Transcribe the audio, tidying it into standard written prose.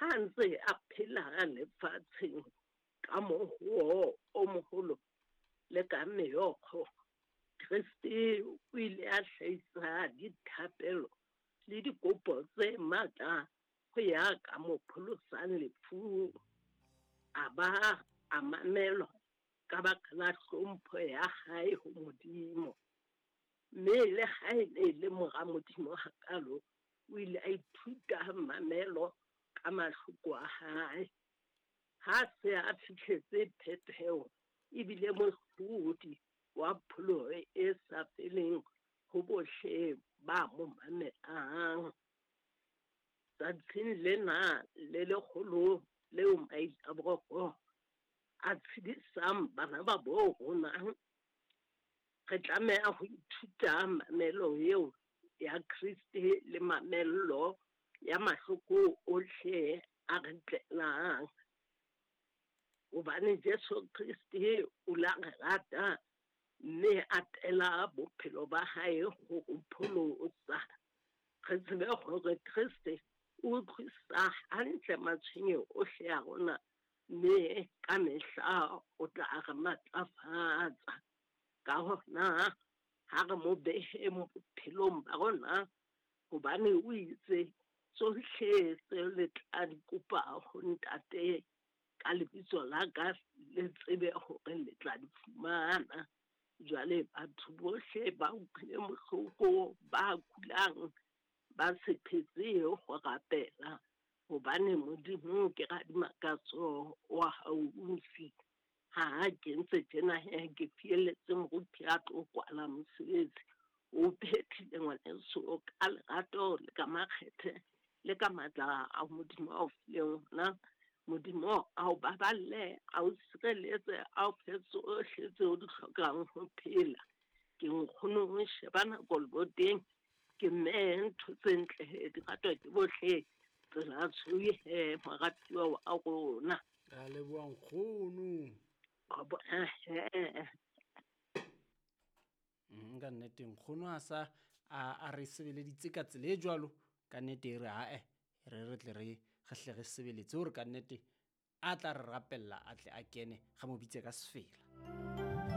Ha a ntse a phela lefatsheng ka mohoo o moholo le ka meokgo, Kreste o ile a hlahisa dithapelo le dikopo tse matla ho ya ka mo pholosang lefung. A ba a mamelwa ka baka la hlompho ya hae ho Modimo. Mme le ha e ne e le mora Modimo hakalo, o ile a ithuta mamelo ka mahloko a hae. Ha se a fihletse phetheho, ebile mohlodi wa pholoho e sa feleng ho bohle ba mo mamelang. Tsatsing lena le leholo leo Mailaboroko a tshedisang bana ba bo rona, re tlameha ho ithuta mamelo eo ya Kreste le mamello ya mahloko ohle a re tlelang. Hobane Jesu Kreste o la re rata mme a tela bophelo ba hae ho re pholosa. Re tsebe hore Kreste o utlwisisa hantle matshwenyeho ohle a rona mme ka mehla o tla re matlafatsa. Ka hona ha re mo beheng bophelong ba rona, hobane o itse tsohle tseo le tla di kopa ho Ntate ka lebitso la ka, le tsebe hore le tla di fumana. Jwale batho bohle ba utlwileng bohloko, ba kulang, ba se phetse ho rapela, hobane Modimo ke radimakatso wa haufi. Ha ke ntse tjena he, ke fielletse moruti a tlo kwala mosebetsi. O phethile ngwaneso ka lerato le ka makgethe le ka matla a Modimo a o fileng ona. Modimo a o baballe, a o sireletse, a o fe tsohle tseo di hlokang ho phela. Ke nkgono sheba nako leboteng, ke mme ntho tse ntle di ratwa ke bohle. Tsela tshweu he moratuwa wa rona. Re a leboha nkgono. Ka nnete nkgono a sa a re sebeleditse ka tsela e jwalo, ka nnete e re ae re re tle re re hle re sebeletse hore ka nnete a tla re rapella a tle a kene re mo bitse ka sefela.